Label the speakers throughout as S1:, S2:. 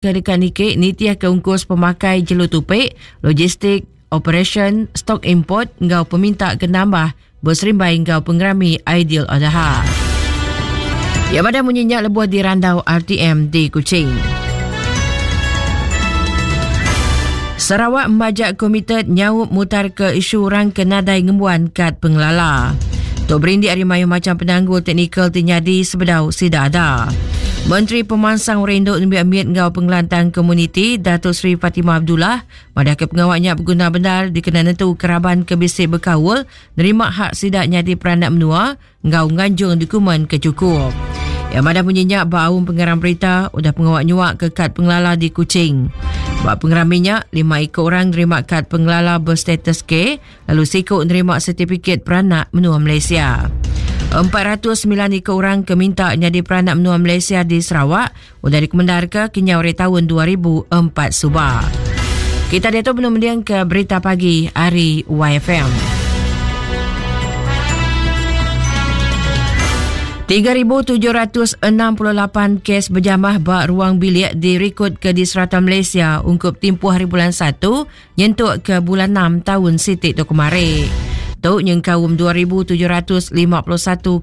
S1: Ke deka niki nitihka ungkus pemakai jelu tupi, logistik, operasyen, stok import enggau peminta ke nambah beserimbai enggau pengerami Aidil Adha. Iya madah munyi nya lebuh dirandau RTM di Kuching. Sarawak majak komited nyaup mutarka isu orang ke nadai ngembuan kad pengelala. Tu berindik ari mayuh macham penanggul teknikal ti nyadi sebedau sida ada. Menteri Pemansang Orang Indu Nembiak Mit enggau Pengelantang Komuniti Datuk Seri Fatimah Abdullah madahka pengawa nya beguna bendar dikena nentuka raban ke bisi bekaul nerima hak sida nyadi peranak menua enggau nganjung dokumen ke chukup. Iya madah munyi nya ba aum pengarang berita udah pengawa nyuaka kad pengelala di Kuching. Ba pengerami nya, lima iku orang nerima kad pengelala berstatus K lalu siku nerima setipikit peranak menua Malaysia. 409 iku orang ke minta nyadi peranak menua Malaysia di Sarawak udah dikemendarka kenyau ari taun 2004 suba. Kita diatu benung mendingka berita pagi ari YFM. 3,768 kes berjamah ba ruang bilik dirikod ke di serata Malaysia ungkup timpuh hari bulan 1 nyentuk ke bulan 6 taun siti tu kemari. Tu nyengkaum 2,751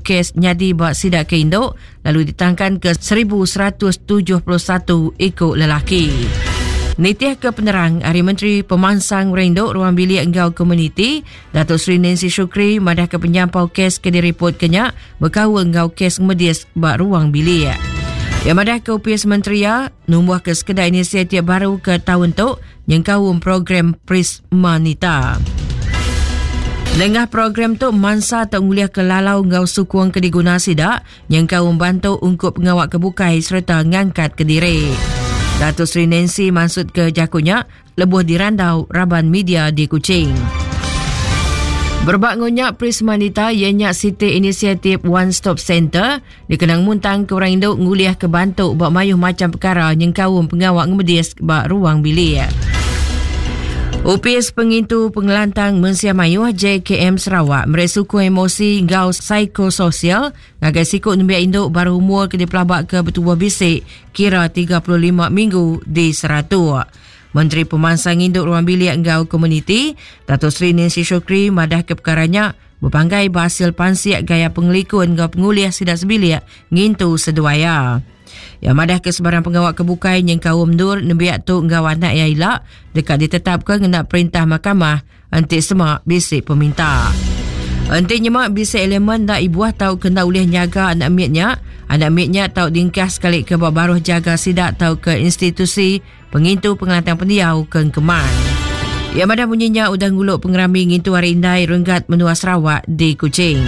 S1: kes nyadi ba sida ke indu lalu ditangkan ke 1,171 iku lelaki. Nitih ke penerang ari Menteri Pemansang Rindu Ruang Bilik enggau Komuniti, Datuk Seri Nancy Shukri madah ke penyampau kes ke diripot ke nya bekaul enggau kes ngemedis ba ruang bilik. Iya madah ke Opis Menteri iya numbuh ke sekeda inisiatif baru ke taun tu nyengkaum program Prismanita. Nengah program tu mansa tau ngulihka lalau enggau sukung ke diguna sida nyengkaum bantu ungkup pengawa ke bukai sereta ngangkatka diri. Dato Sri Nancy mansutka jaku nya lebuh dirandau raban media di Kuching. Berebak enggau nya, Prismanita iya nya siti inisiatif One Stop Center Dikena ngemuntangka orang indu ngulihka bantu ba mayuh macham pekara nyengkaum pengawa ngemedis ba ruang bilik. Opis Pengintu Pengelantang Mensia Mayuh JKM Sarawak meri sukung emosi enggau psikososial ngagai siku nembiak indu baruh umur ke dipelabaka betubuh bisi kira 35 minggu di Saratok. Menteri Pemansang Indu Ruang Bilik enggau Komuniti, Dato Sri Nancy Shukri madahka pekara nya Bepanggai ba asil pansik gaya pengelikun enggau pengulih sida sebilik ngintu seduai iya. Iya madahka sebarang pengawa ke bukai nyengkaum endur nembiak tu enggau anak iya ila deka ditetapka ngena perintah mahkamah enti sema bisi peminta. Enti nyema bisi elemen enda ibuh tauka enda ulih nyaga anak mit nya, anak mit nya tau diengkah sekalika ba baruh jaga sida tauka institusi Pengintu Pengelantang Pendiau ke Engkeman. Iya madah munyi nya udah ngulu pengerami ngintu Hari Indai Renggat Menua Sarawak di Kuching.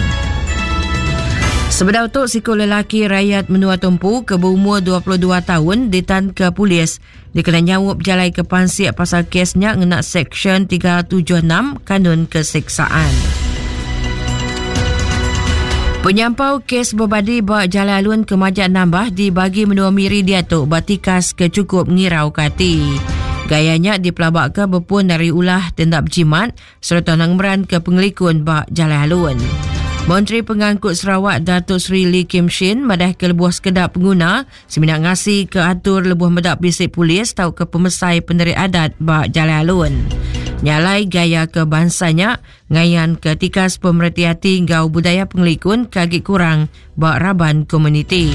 S1: Sebedau tu, siku lelaki rayat menua Tumpu ke berumur 22 taun ditanka polis dikena nyaup jalai ke pansik pasal kes nya ngena Seksyen 376 Kanun Keseksaan. Penyampau kes bebadi ba jalai alun ke majak nambah di bagi menua Miri diatu ba tikas ke chukup ngirauka ati. Gaya nya dipelabaka bepun ari ulah ti enda bejimat sereta enda ngemeranka pengelikun ba jalai alun. Menteri Pengangkut Sarawak Datuk Seri Lee Kim Shin madahka lebuh sekeda penguna semina ngasika atur lebuh meda bisi polis tauka pemesai penerit adat ba jalai alun. Nya alai gaya ke bansa nya Ngayanka tikas pemereti ati enggau budaya pengelikun ke agi kurang ba raban komuniti.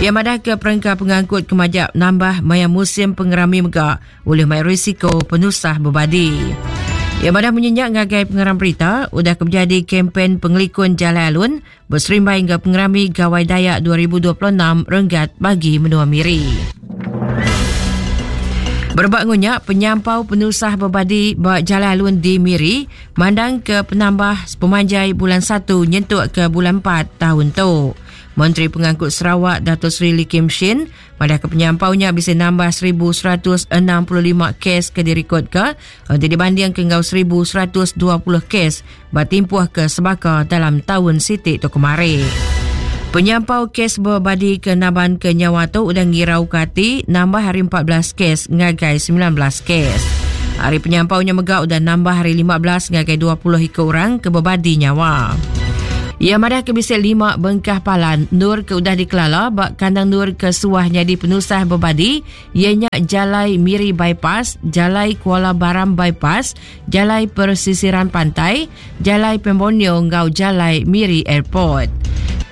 S1: Iya madahka perengka pengangkut ke majak nambah maya musim pengerami mega ulih mai risiko penusah bebadi. Iya madah munyi nya ngagai pengarang berita udah ke bejadi kempen pengelikun jalai alun beserimbai enggau pengerami Gawai Dayak 2026 renggat bagi menua Miri. Berebak enggau nya, penyampau penusah bebadi ba jalai alun di Miri mandang ke penambah sepemanjai bulan 1 nyentuk ke bulan 4 taun tu. Menteri Pengangkut Sarawak Dato Sri Lee Kim Shin Madahka penyampau nya bisi nambah 1,165 kes ke dirikodka enti dibandingka enggau 1,120 kes ba timpuh ke sebaka dalam taun siti tu kemari. Penyampau kes bebadi ke nabanka nyawa tu udah ngirauka ati nambah ari 14 kes ngagai 19 kes. Ari penyampau nya mega udah nambah ari 15 ngagai 20 iku orang ke bebadi nyawa. Iya madah ke bisi lima bengkah palan endur ke udah dikelala ba kandang endur ke suah nyadi penusah bebadi iya nya Jalai Miri Bypass, Jalai Kuala Baram Bypass, Jalai Persisiran Pantai, Jalai Pan Borneo enggau Jalai Miri Airport.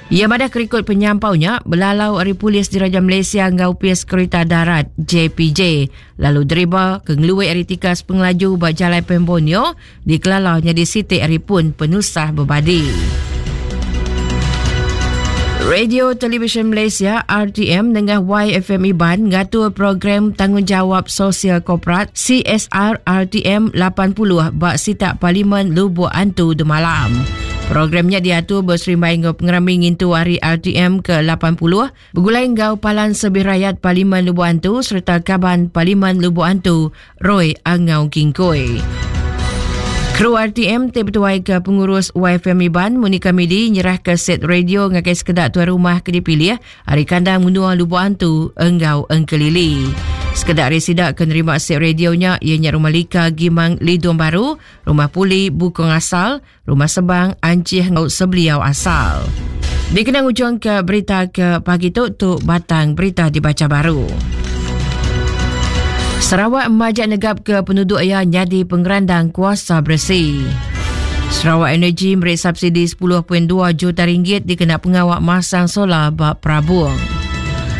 S1: Iya madah ke rikod penyampau nya belalau ari Polis Diraja Malaysia enggau Opis Kerita Darat, JPJ, lalu deriba ke ngeluwi ari tikas pengelaju ba Jalai Pan Borneo dikelala nyadi siti ari pun penusah bebadi. Radio Televisyen Malaysia RTM nengah YFM Iban ngatur program Tanggungjawab Sosial Korporat CSR RTM 80 ba sitak Parlimen Lubok Antu demalam. Program nya diatur beserimbai enggau pengerami ngintu Hari RTM ke-80 begulai enggau Palan Servis Rayat Parlimen Lubok Antu sereta Kaban Parlimen Lubok Antu Roy Angau Kingkoi. Kru RTM ti betuai ke pengurus YFM Iban Monica Midi nyerahka set radio ngagai sekeda tuai rumah ke dipilih ari kandang menua Lubok Antu enggau Engkelili. Sekeda ari sida ke nerima set radio nya iya nya Rumah Lika Gimang Lidong Baru, Rumah Puli Bukong Asal, Rumah Sebang Anchih enggau Sebeliau Asal. Dikena ngujungka berita ke pagi tu, tu batang berita dibacha baru. Sarawak majak negapka penuduk iya nyadi pengerandang kuasa beresi. Sarawak Energy meri subsidi 10.2 juta ringgit dikena pengawa masang solar ba Perabung.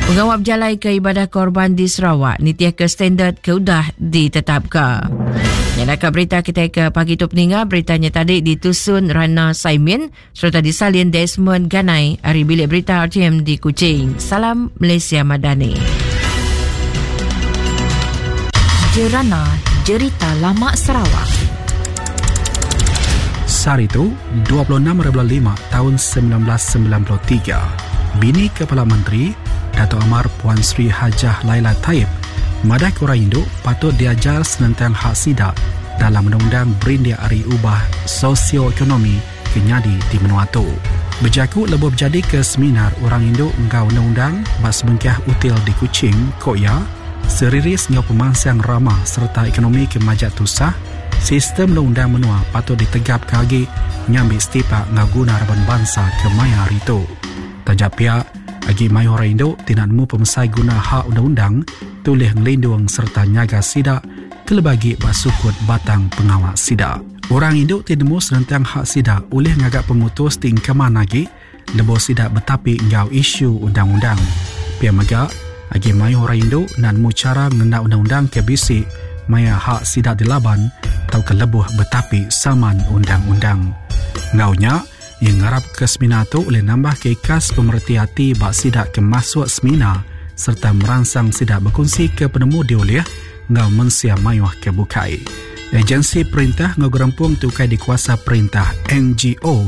S1: Pengawa bejalaika ibadah korban di Sarawak nitihka standard ke udah ditetapka. Nyadaka berita kitai ke pagi tu peninga beritanya tadi ditusun Rana Saimin sereta disalin Desmond Ganai ari Bilik Berita RTM di Kuching. Salam Malaysia Madani.
S2: Jerana Jerita Lama Sarawak.
S3: Sehari tu, 26 bulan 5 tahun 1993, bini Kepala Menteri, Datuk Amar Puan Sri Hajah Laila Taib, madah ke orang indu patut diajar senentang hak sida dalam undang-undang berindik ari ubah sosioekonomi ke nyadi di menua tu. Bejaku lebuh bejadika seminar orang indu enggau undang-undang ba sebengkah util di Kuching, ku iya, seriris enggau pemansang rama sereta ekonomi ke majak tusah, sistem undang-undang menua patut ditegapka agi ngambi setipak enggau guna raban bansa ke maya hari tu. Taja pia, agi mayuh orang indu ti enda nemu pemesai guna hak undang-undang ti ulih ngelindung sereta nyaga sida kelebih agi ba sukut batang pengawa sida. Orang indu ti nemu senentang hak sida ulih ngaga pemutus ti engkeman agi lebuh sida betapi enggau isu undang-undang. Pia mega, agi mayuh orang indu enda nemu chara ngena undang-undang ke bisi maya hak sida dilaban tauka lebuh betapi saman undang-undang. Enggau nya, Iya ngarapka seminar tu ulih nambahka ikas pemereti ati ba sida ke masuk seminar sereta meransang sida bekunsika penemu diulih enggau mensia mayuh ke bukai. Ejensi perintah enggau gerempung ti ukai dikuasa perintah, NGO,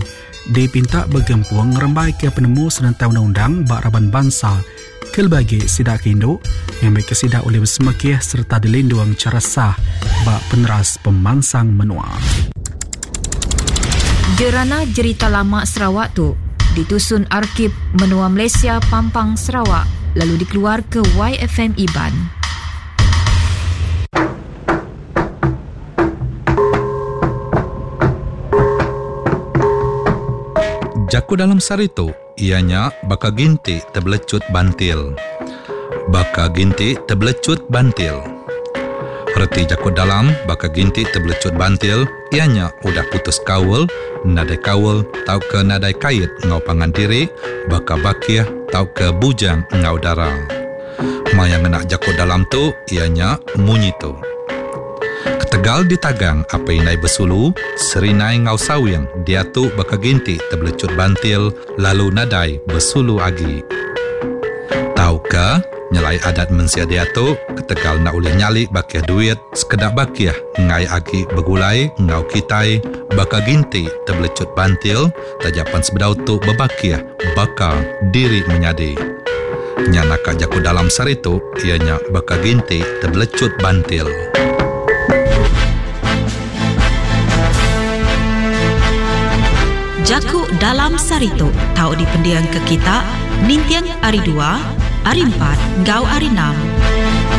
S3: dipinta begempung ngerembaika penemu senentang undang-undang ba raban bansa kelebih agi sida ke indu ngambika sida ulih besemekih sereta dilindung chara sah ba peneras pemansang menua.
S2: Jerana Jerita Lama Sarawak tu ditusun Arkib Menua Malaysia Pampang Sarawak lalu dikeluarka YFM Iban.
S4: Jaku dalam sehari tu iya nya baka ginti tebelecut bantil. Baka ginti tebelecut bantil. Reti jaku dalam baka ginti tebelecut bantil iya nya udah putus kaul, nadai kaul tauka nadai kait enggau pangan diri baka bakih tauka bujang enggau dara. Maya ngena jaku dalam tu iya nya munyi tu. Ketegal ditagang apai indai besulu, Serinai enggau Sawing diatu baka ginti tebelecut bantil lalu nadai besulu agi. Tauka nyelai adat mensia diatu ketegal enda ulih nyali bakih duit sekeda bakih enggai agi begulai enggau kitai baka ginti tebelecut bantil taja pan sebedau tu bebakih baka diri menyadi. Nya naka jaku dalam sehari tu iya nya baka ginti tebelecut bantil.
S2: Jaku dalam sehari tu tau dipendingka kita ninting Hari Dua, Hari Empat enggau Hari Enam.